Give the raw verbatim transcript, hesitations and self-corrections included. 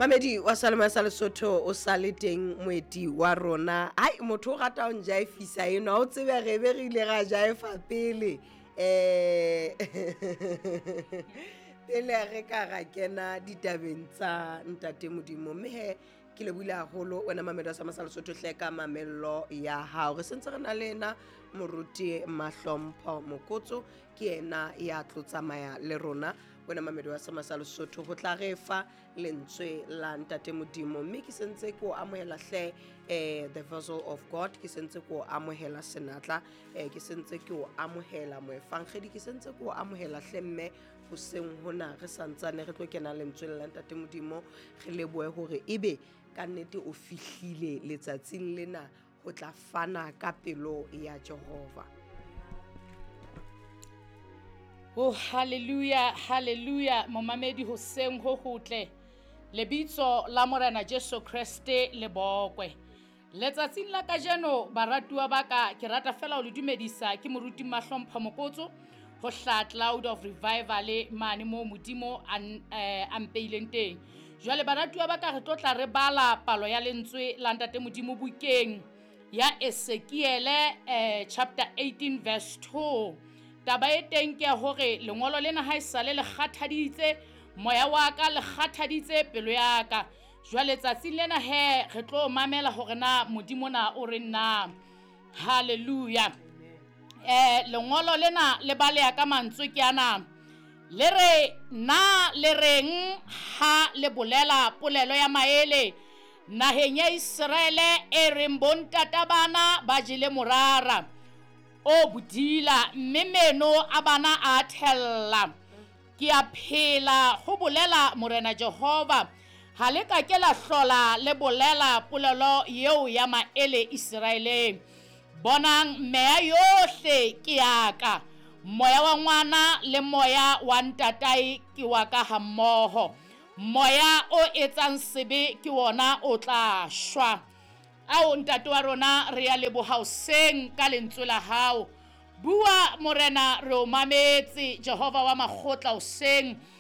Mamedi wa Salema sa Lesotho, o sa le teng moeti wa rona. Ai, motho o rata ho njaefisa enwa, o tsebe re be re ile ra jaefa pele, eh pele re ka ra kena ditabeng tsa ntate Modimo. Mme he, ke lebohile haholo wena mamedi wa Sama sa Lesotho hle ka mamello ya hao. Re sentse re na le ena moruti Mahlompho Mokotso, ke yena ya tlo tsamaya le rona, wena mamedi wa Sama sa Lesotho, ho tla re fa lentswe la ntate Modimo. Mme ke sentse ke o amohela hle, eh the vessel of God, ke sentse ke o amohela senatla, eh ke sentse ke o amohela moefangedi, ke sentse ke o amohela hle. Mme hoseng hona re santsane re tlo kena lentsweng la ntate Modimo, re lebohe hore ebe ka nnete o fihlile letsatsing lena ho tla fana ka pelo ya Jehova. Oh, hallelujah, hallelujah. Momamedi, hoseng ho hotle. Lebitso la Morena Jesu Kreste le bokwe. Letsatsing la kajeno, baratuwa ba ka, ke rata fela ho le dumedisa. Ke moruti Mahlompho Mokotso ho hla Cloud of Revival mane moo Modimo a eh, a mpeileng teng. Jwale baratuwa ba ka, re tlo tla re bala palo ya lentswe la ntate Modimo bukeng ya Ezekiele, eh, chapter eighteen verse two. Taba e teng ke ya hore lengolo lena ha esale le kgathaditse moya wa ka, le kgathaditse pelo ya ka. Jwale tsatsing lena he, re tlo mamela hore na Modimo na o re na. Hallelujah. eh lengolo lena le baleha ka mantswe ke ana, le re na le reng ha le bolela polelo ya maele naheng ya Iseraele e reng, bontata bana ba jele morara o bodila, mme meno a bana a thella? Ke a phela, ho bolela Morena Jehova, ha le ka ke la hlola le bolela polelo eo ya maele Iseraeleng. Bonang, meya yohle ke ya ka, moya wa ngwana le moya wa ntatae ke wa ka hammoho. Moya o etsang sebe ke wona o tla shwa. Ao, ntate wa rona, re ya leboha hoseng ka lentswe la hao. Bua, Morena, re o mametse. Jehova wa makgotla, hoseng.